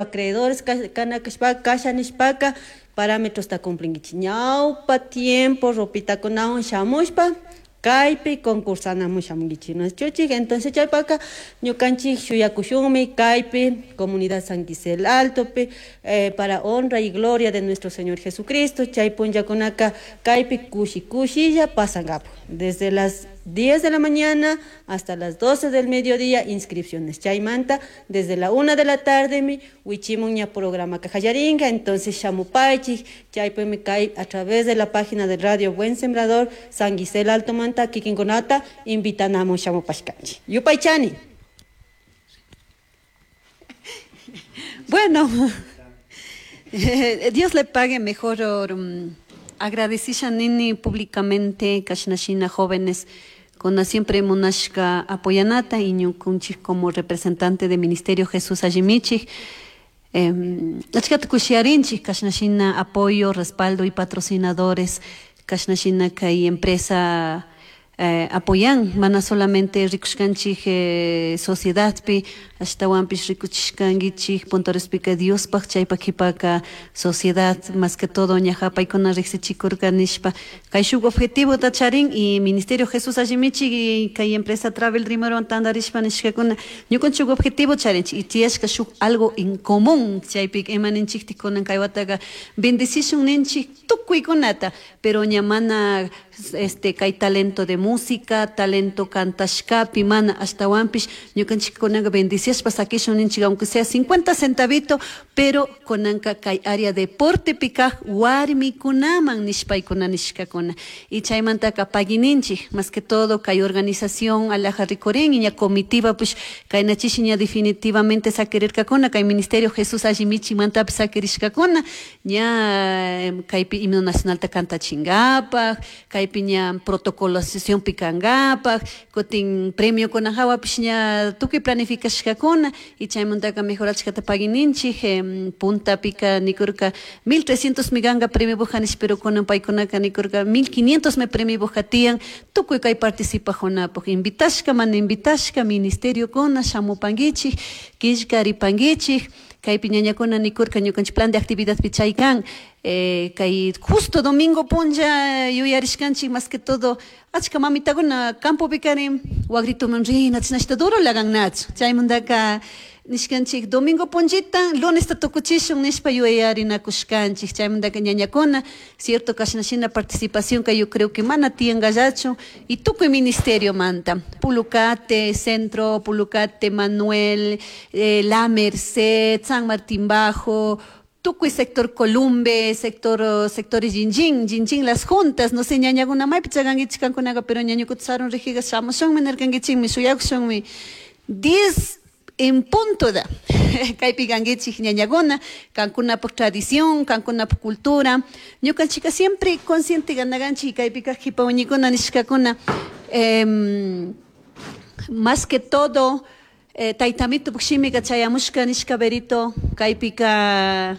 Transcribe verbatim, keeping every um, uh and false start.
Acreedores kana kashpaka kasha nishpaka parámetros cumplinkichik. Ñawpa tiempo ropitakunawan shamushpa kaypi concursanamun shamunkichik, ¿no? Entonces chaypaka ñukanchik shuyakushunmi kaypi comunidad San Gisel Altopi eh, para honra y gloria de nuestro Señor Jesucristo. Chay punllakunaka kaypi kushi kushilla pasankapak desde las diez de la mañana hasta las doce del mediodía inscripciones. Chaymanta desde la una de la tarde mi wichimun ña programa kajallarinka. Entonces shamupaychik, chaypimi kay a través de la página de Radio Buen Sembrador San Gisel Alto manta kikinkunata invitanamun shamupashkanchik. Yupaychani. Bueno, Dios le pague mejor. Um, agradecisha nini públicamente kashnashina jóvenes con siempre munashka apoyanata y ñukunchik como representante del Ministerio Jesús Allimichik eh, achkata kushiarinchik kashnashina apoyo, respaldo y patrocinadores kashnashina kay empresa eh, apoyan, mana solamente rikushkanchik eh, sociedadpi, ashtawanpish rikuchishkankichik puntorespika Diospaj chaypak qhipaka sociedad más que todo ñaja paykuna riqsichikurka nishpa kay shuk objetivota charin y Ministerio Jesús Allimichik y kay empresa Travel Dreamerwan tantarishpa nishkakuna ñukanchik objetivo charinchik y tiyashka shuk algo en común chaypika ima ninchiktik kunan kay wataka bendecishun ninchik tukuykunata, pero ña mana este kay talento de música, talento cantashkapi mana ashtawanpish ñukanchik kunanka bendiciashpa sakishun ninchik aunque sea cincuenta centavito, pero kunanka kay área deportepi kaj warmikunaman nishpaykuna nishkakuna y chaymantaka paguininchik más que todo kay organización alaja rikurin y ña comitiva pues kaynachishi ña definitivamente sakirirkakuna kay Ministerio Jesús Allimichikmantapish sakirishkakuna ña kaypi himno nacionalta kantachinkapak kaypi ña protocolo sesión pikankapak kutin premio kuna hawapish ña tukuy planificashkakuna y chaymantaka mejor achkata paguininchik eh, puntapika nikurka mil trescientos miganka premio bujanish, pero kunan paykunaka nikurka mil quinientos me premio buja tiyan tukuy kay participajunapuk invitashka mana invitashka ministerio kuna shamupankichik killkaripankichik kaypi ñañakuna nikurka ñukanchik plan de actividad chay kan eh, kay justo domingo punlla yuyarishkanchik más que todo achka mamitakuna campopi karin wagrituman rina chinashta duro lagannachu chaymantaka nishkanchik domingo punllita lunesta tukuchishun nishpa yuyarinakushkanchik chaymantaka ñañakuna cierto kashnashina participación ka yo creo que mana tiyankallachu y tukuy ministerio manta Pulucate, Centro, Pulucate, Manuel, eh, La Merced, San Martín Bajo, tukuy sector Columbe, sector sectores Jinjin, Jinjin las juntas, no sé ñañakuna maypi chakankichik kankunaqa pero ñañukuta sarun rijiga shamushunmi nirkankichikmi shuyakushunmi diez en punto da kaypi kankichik ñañakuna kankunapuk tradición, kankunapuk cultura ñukanchika siempre consciente ganaganchik kaypi kaq qhipa wañikuna nishkakuna eh, más que todo eh, taytamito shimika chayamushka nishka berito kaypika